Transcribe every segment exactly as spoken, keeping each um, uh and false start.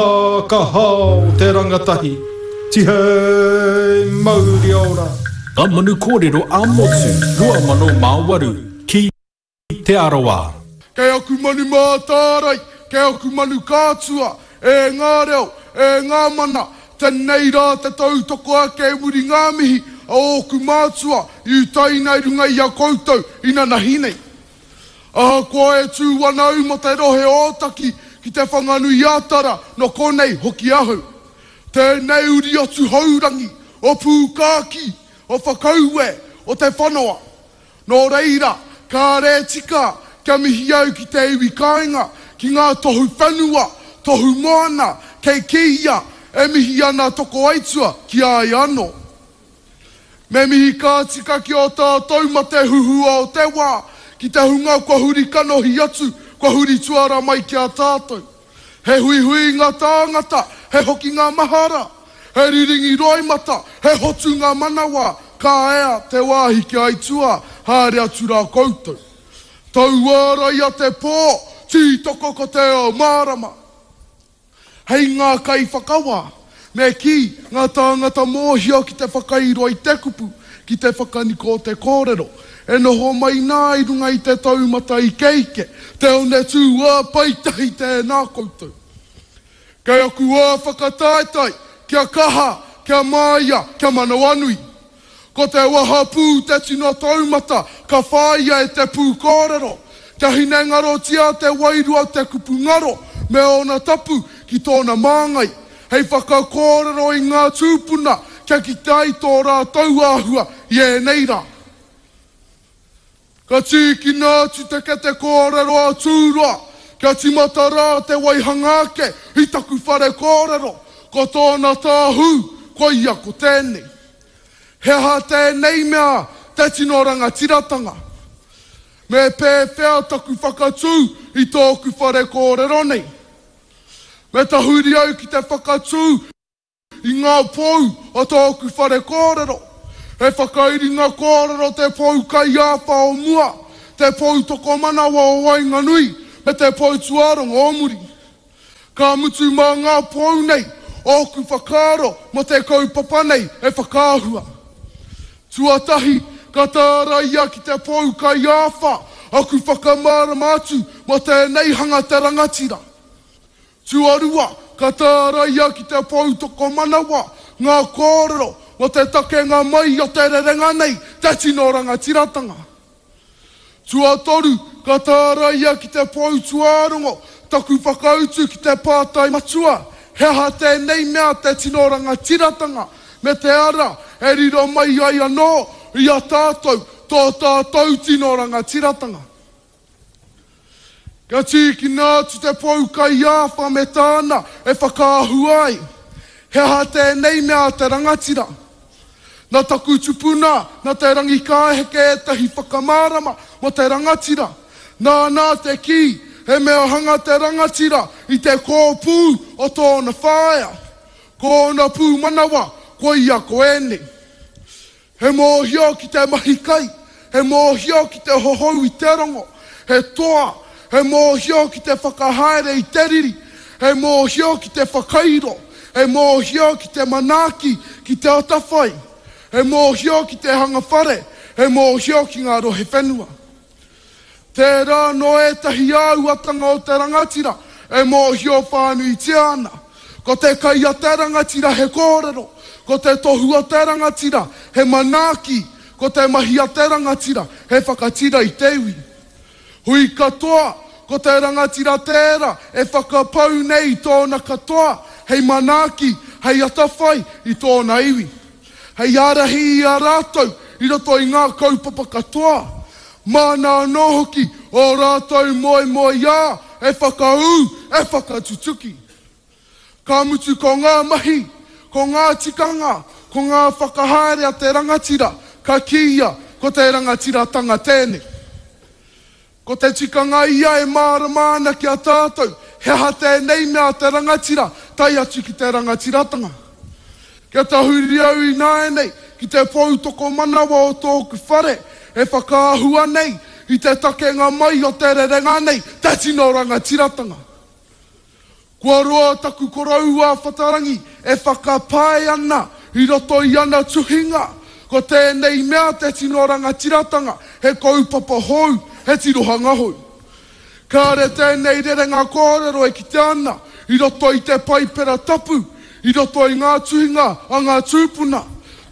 Kaha o te rangatahi, tihei mauri ora. Ngā Manu Kōrero ā-Motu rua mano mā waru ki Te Arawa. Kei aku manu mātārai, kei aku manu kātua, e ngā reo, e ngā mana, tenei rā te tautoko ake e muri ngā mihi a ōku mātua i utaina i runga i a koutou inanahi nei. Ahakoa e tū ana au mō te rohe o Ōtaki ki Te Whanganui-a-Tara, nō konei hoki ahau. Tēnei uri o Tuhourangi, o Pūkākī, o Whakaue, o Te Whanoa. Nō reira, kāre e tika kia mihi au ki te iwi kāinga, ki ngā tohu whenua, tohu moana, kei kīia e mihi ana tokoaitua ki a ia anō. Me mihi ka tika ki ō tātou mate huhua o te wā, ki te hunga kua huri kanohi atu, kua huri tuara mai ki a tātou. He huihuinga tāngata, he hokinga mahara, he riringi roimata, he hotunga manawa, ka ea te wāhi ki aituā, haere atu rā koutou. Tauāraia te pō, tītoko ko te ao mārama. Hei ngā kaiwhakawā, me kī, ngā tāngata mōhio ki te whakairo i te kupu, ki te whakaniko o te kōrero, e noho mai nā i runga i te taumata ikeike, te one tū ā-paetahi tēnā koutou. Kei aku ā whakataetae, kia kaha, kia māia, kia manawanui. Ko te wahapū te tino taumata ka whāia e te pūkōrero, kia hinengarotia te wairua o te kupu ngaro me ōna tapu ki tōna māngai, hei whakakōrero i ngā tūpuna kia kite ai tō rātou āhua i ēnei rā. Ka tīkina atu te kete kōrero a Tūroa kia tīmata rā te waihanga ake i taku whare kōrero, ko tōna tāhū koia ko tēnei. He aha tēnei mea te tino rangatiratanga? Me pēwhea taku whakatū i tōku whare kōrero nei? Me tahuri au ki te whakatū i ngā pou o tōku whare kōrero. He whakairinga kōrero te pou kaiāwha o mua, te pou tokomanawa o waenganui, me te pou tuarongo o muri. Ka mutu mā ngā pou nei ōku whakaaro mō te kaupapa nei e whakaahua. Tuatahi, ka tāraia ki te pou kaiāwha aku whakamārama atu mō tēnei hanga te rangatira. Tuarua, ka tāraia ki te pou tokomanawa ngā kōrero mō te takenga mai o te rerenga nei, te tino rangatiratanga. Tuatoru, ka tāraia ki te pou tuārongo taku whakautu ki te pātai matua, he aha tēnei mea te tino rangatiratanga me te ara e riro mai ai anō i a tātou tō tātou tino rangatiratanga. Kia tīkina atu te pou kaiāwha me tāna e whakaahua ai, he aha tēnei mea te rangatira? Nā taku tupuna, nā Te Rangikāheke ētahi whakamārama mō te rangatira. Nāna te kī, he mea hanga te rangatira i te kōpū o tōna whaea. Ko ōna pūmanawa, koia ko ēnei. He mōhio ki te mahi kai, he mōhio ki te hohou i te rongo, he toa, he mōhio ki te whakahaere i te riri, he mōhio ki te whakairo, he mōhio ki te manaaki, ki te atawhai, he mōhio ki te hanga whare, he mōhio ki ngā rohe whenua. Tērā anō ētahi āhuatanga o te rangatira e mōhio whānuitia ana. Ko te kai a te rangatira he kōrero, ko te tohu a te rangatira he manaaki, ko te mahi a te rangatira he whakatira i te iwi. Hui katoa, ko te rangatira tērā e whakapau nei i tōna katoa hei manaaki, hei atawhai i tōna iwi. Hei ārahi i a rātou i roto i ngā kaupapa katoa. Māna anō hoki ō rātou moemoeā e whakaū, e whakatutuki. Ka mutu ko ngā mahi, ko ngā tikanga, ko ngā whakahaere a te rangatira, ka kīia ko te rangatiratanga tēnei. Ko te tikanga ia e mārama ana ki a tātou, he aha tēnei mea te rangatira, tae atu ki te rangatiratanga. Kia tahuri au ināianei ki te pou tokomanawa o tōku whare e whakaahua nei i te takenga mai o te rerenga nei, te tino rangatiratanga. Kua roa taku koroua Whatarangi e whakapae ana i roto i ana tuhinga, ko tēnei mea te tino rangatiratanga, he kaupapa hou, he tirohanga hou. Kāre tēnei rerenga kōrero e kite ana i roto i te paipera tapu, i roto i ngā tuhinga a ngā tūpuna,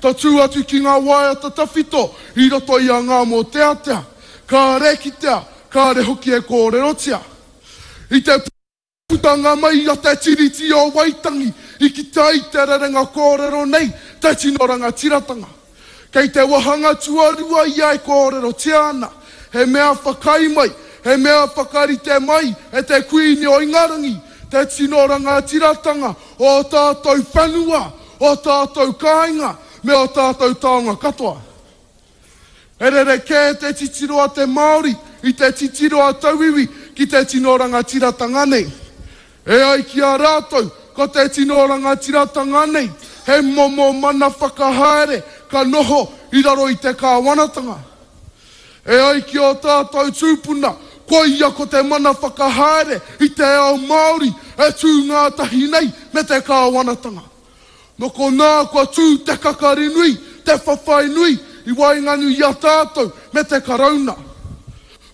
tatū atu ki ngā waiata tawhito i roto i a Ngā Mōteatea. Kāre kitea, kāre hoki e kōrerotia. I te putanga mai a te Tiriti o Waitangi i kite ai te rerenga kōrero nei te tino rangatiratanga. Kei te wāhanga tuarua ia e kōrerotia ana, he mea whakaae mai, he mea whakarite mai e te Kuini o Ingarangi te tino rangatiratanga o ō tātou whenua, o tātou kāinga me ō tātou taonga katoa. He rerekē te titiro a te Māori i te titiro a tauiwi ki te tino rangatiratanga nei. E ai ki a rātou, ko te tino rangatiratanga nei he momo mana whakahaere ka noho i raro i te kāwanatanga. E ai ki ō tātou tūpuna, koia ko te mana whakahaere i te ao Māori e tū ngātahi nei me te kāwanatanga. Nō konā kua tū te kakari nui, te whawhai nui i waenganui i a tātou me te Karauna.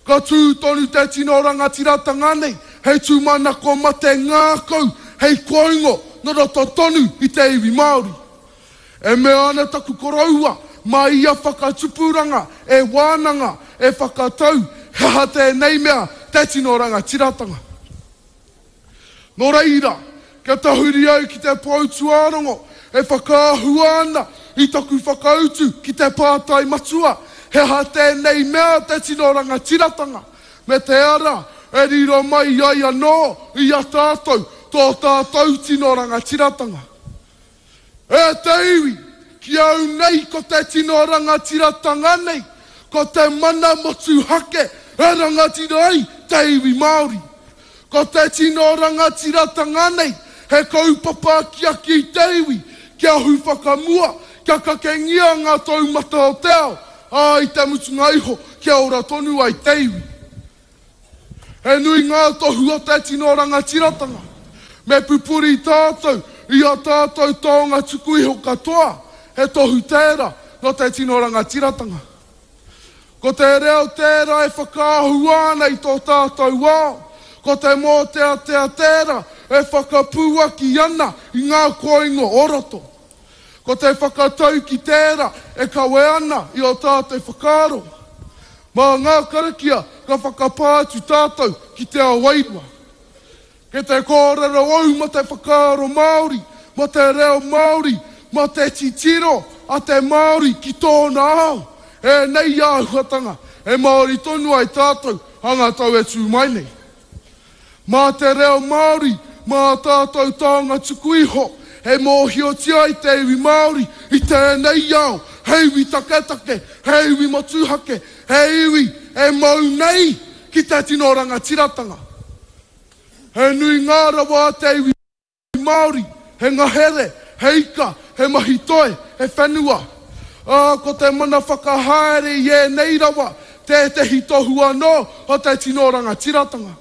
Ka tū tonu te tino rangatiratanga nei hei tūmanako mate ngākau, hei koingo nō roto tonu i te iwi Māori. E mea ana taku koroua, mā ia whakatupuranga e wānanga, e whakatau he aha tēnei mea te tino rangatiratanga. Nō reira, kia tahuri au ki te pou tuarongo e whakaahua ana i taku whakautu ki te pātai matua, he aha tēnei mea te tino rangatiratanga, me te ara e riro mai ai anō i a tātou tō tātou tino rangatiratanga. E te iwi, ki au nei ko te tino rangatiratanga nei, ko te mana motuhake e rangatira ai te iwi Māori. Ko te tino rangatiratanga nei, he kaupapa akiaki i te iwi, kia ahu whakamua, kia kakengia ngā taumata o te ao, ā, i te mutunga iho, kia ora tonu ai te iwi. He nui ngā tohu o te tino rangatiratanga. Me pupuri tātou i ā tātou taonga tuku iho katoa, he tohu tērā nō te tino rangatiratanga. Ko te reo tērā e whakaahua ana i tō tātou ao, ko te mōteatea tērā e whakapuaki ana i ngā koingo o roto. Ko te whakatauki tērā e kawe ana i ō tātou whakaaro. Mā ngā karakia ka whakapā atu tātou ki te ao wairua. Kei te kōrero au mō te whakaaro Māori, mō te reo Māori, mō te titiro a te Māori ki tōna ao. Ēnei āhuatanga e Māori tonu ai tātou a ngā tau e tū mai nei. Mā te reo Māori, mā ā tātou taonga tuku iho, e mōhiotia ai te iwi Māori i tēnei ao, he iwi taketake, he iwi motuhake, he iwi e mau nei ki te tino rangatiratanga. He nui ngā rawa a te iwi Māori, he ngahere, he ika, he mahi toi, he whenua. Ā, ko te mana whakahaere i ēnei rawa tētehi tohu anō o te tino rangatiratanga.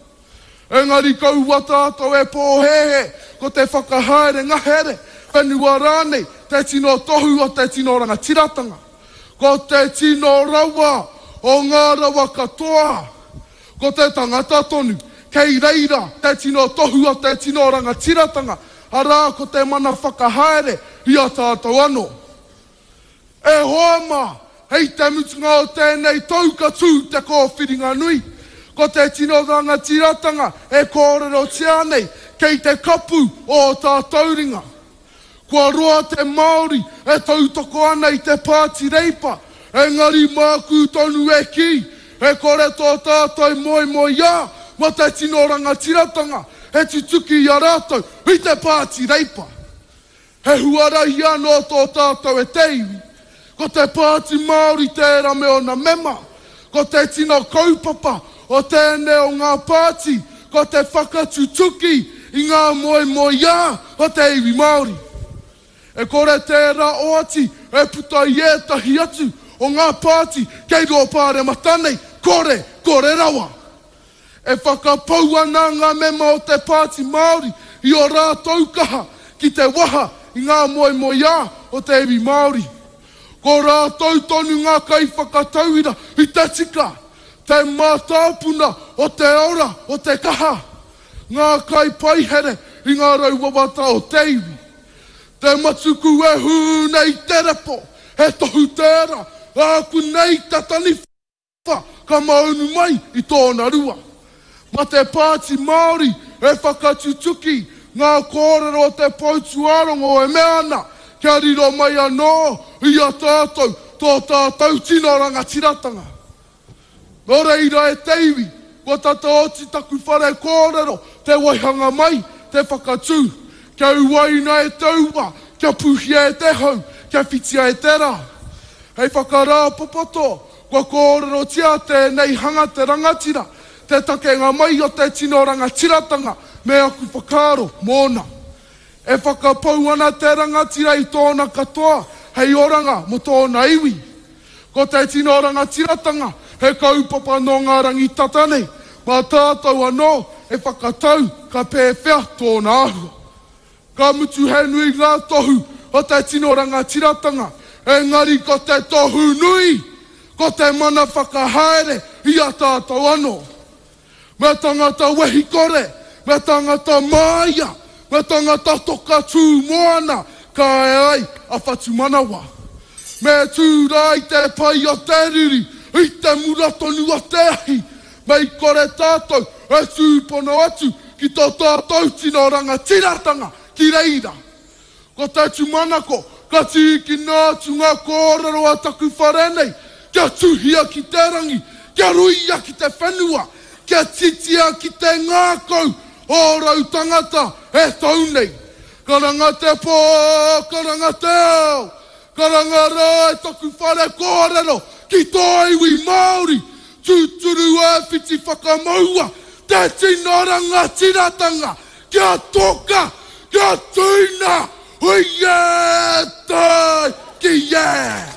Engari kaua tātou e pōhēhē ko te whakahaere ngahere, whenua rānei te tino tohu o te tino rangatiratanga. Ko te tino rawa o ngā rawa katoa, ko te tangata tonu, kei reira te tino tohu o te tino rangatiratanga, arā ko te mana whakahaere i a tātou anō. E hoa mā, hei te mutunga o tēnei tau ka tū te kōwhiringa nui. Ko te tino rangatiratanga e kōrerotia nei kei te kapu o ō tātou ringa. Kua roa te Māori e tautoko ana i te Pāti Reipa, engari māku tonu e kī, e kore tō tātou moemoeā mō te tino rangatiratanga e tutuki i a rātou i te Pāti Reipa. He huarahi anō tō tātou e te iwi. Ko te Pāti Māori tērā me ōna mema. Ko te tino kaupapa o tēnei o ngā pāti ko te whakatutuki i ngā moemoeā o te iwi Māori. E kore tērā oati e puta i ētahi atu o ngā pāti kei rō pāremata nei, kore, kore rawa. E whakapau ana ngā mema o te Pāti Māori i ō rātou kaha ki te waha i ngā moemoeā o te iwi Māori. Ko rātou tonu ngā kaiwhakatauira i te tika, te mātāpuna o te ora, o te kaha, ngā kaipaihere i ngā rau wawata o te iwi. Te matuku e hū nei te repo, he tohu tērā, āku nei te taniwha ka maunu mai i tōna rua. Mā te Pāti Māori e whakatutuki ngā kōrero o te Poutūārongo e mea ana kia riro mai anō i a tātou tō tātou tino rangatiratanga. Nō reira e te iwi, kua tata oti taku whare kōrero te waihanga mai, te whakatū, kia uaina e te ua, kia pūhia e te hau, kia whitia e te rā. Hei whakarāpopoto, kua kōrerotia tēnei hanga te rangatira, te takenga mai o te tino rangatiratanga me aku whakaaro mōna. E whakapau ana te rangatira i tōna katoa hei oranga mō tōna iwi. Ko te tino rangatiratanga he kaupapa nō ngā rangi tata nei, mā tātou anō e whakatau ka pēwhea tōna āhua. Ka mutu he nui ngā tohu o te tino rangatiratanga, engari ko te tohu nui, ko te mana whakahaere i a tātou anō. Me tangata wehi kore, me tangata māia, me tangata toka tū moana, ka ea ai a Whatumanawa. Me tū rā i te pai o te riri, i te mura tonu o te ahi, me i kore tātou e tūpono atu ki tō tātou tino rangatiratanga ki reira. Ko te tūmanako, ka tīkina atu ngā kōrero a taku whare nei, kia tuhia ki te rangi, kia ruia ki te whenua, kia titia ki te ngākau o rau tangata e tau nei. Karanga te pō, karanga te ao, karanga rā e taku whare kōrero ki tō iwi Māori, tūturu e whiti whakamaua te tino rangatiratanga, kia toka, kia tūina, hui e tai ki e!